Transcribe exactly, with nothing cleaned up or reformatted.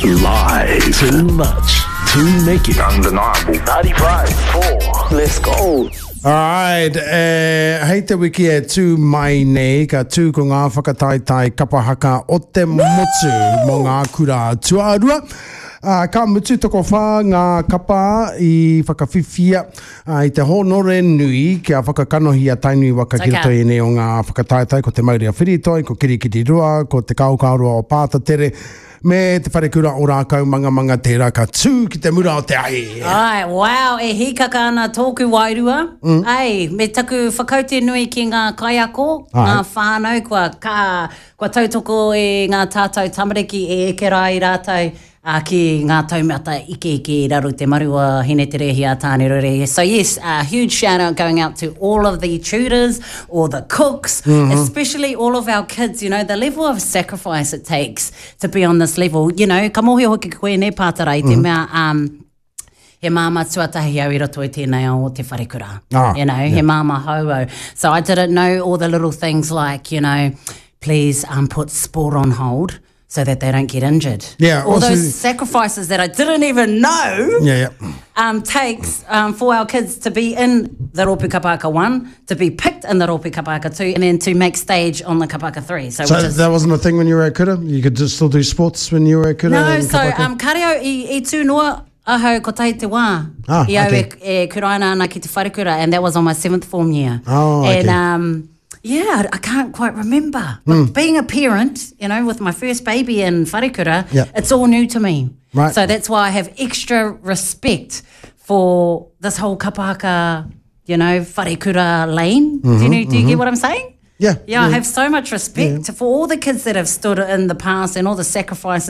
Live. Too much. Too naked. Undeniable. ninety-five, four. Let's go. Alright, eh, hei te wiki e tū mai nei, ka tū ko ngā whakataetae kapahaka o te motu mō ngā kura tuarua. Uh, ka mutu tokowhā ngā kapa i whakawhiwhia uh, i te hōnore nui kia whakakanohi a Tainui waka ki Okay. roto i ēnei o ngā whakataetae, ko Te Maurea Whiritoi, ko Kirikiriroa, ko Te Kaokaoroa o Pātatere, me te wharekura o Rākaumangamanga tērā ka tū ki te mura o te ahi. Ai, wow, e hīkaka ana tōku wairua. Mm. Ai, me taku whakaute nui ki ngā kaiako, Ai. ngā whānau, kua, ka, kua tautoko e ngā tātou tamariki e eke rā i rātou uh, ki ngā taumata ike ike i raro te maru o Hineterehi a Tānerore. So yes, a huge shout out going out to all of the tutors, all the cooks, mm -hmm. especially all of our kids, you know, the level of sacrifice it takes to be on this level. You know, ka mōhio hoki koe ne pātara i te mm -hmm. mea, um, he māmā tuatahi au i roto i tēnei ao o te wharekura. Ah, you know, yeah. he māmā hou au. So I didn't know all the little things like, you know, please um, put sport on hold so that they don't get injured. Yeah, All also- those sacrifices that I didn't even know Yeah, yeah. um, takes um, for our kids to be in the Rōpū Kapahaka one, to be picked in the Rōpū Kapahaka two, and then to make stage on the Kapahaka three. So, So which is, that wasn't a thing when you were at kura? You could just still do sports when you were at kura? No, and so kapahaka? um, kareo i, i tū noa ahau kotahi te wā. Ah, I au okay. e, e kuraina ana ki te wharekura, and that was on my seventh form year. Oh, okay. And um, yeah, I can't quite remember. But Hmm. being a parent, you know, with my first baby in wharekura, Yeah. it's all new to me. Right. So that's why I have extra respect for this whole kapahaka, you know, wharekura lane. do you know, do you get what I'm saying? Mm-hmm, Yeah, Yeah, I yeah. have so much respect for all the kids that have stood in the past and all the sacrifices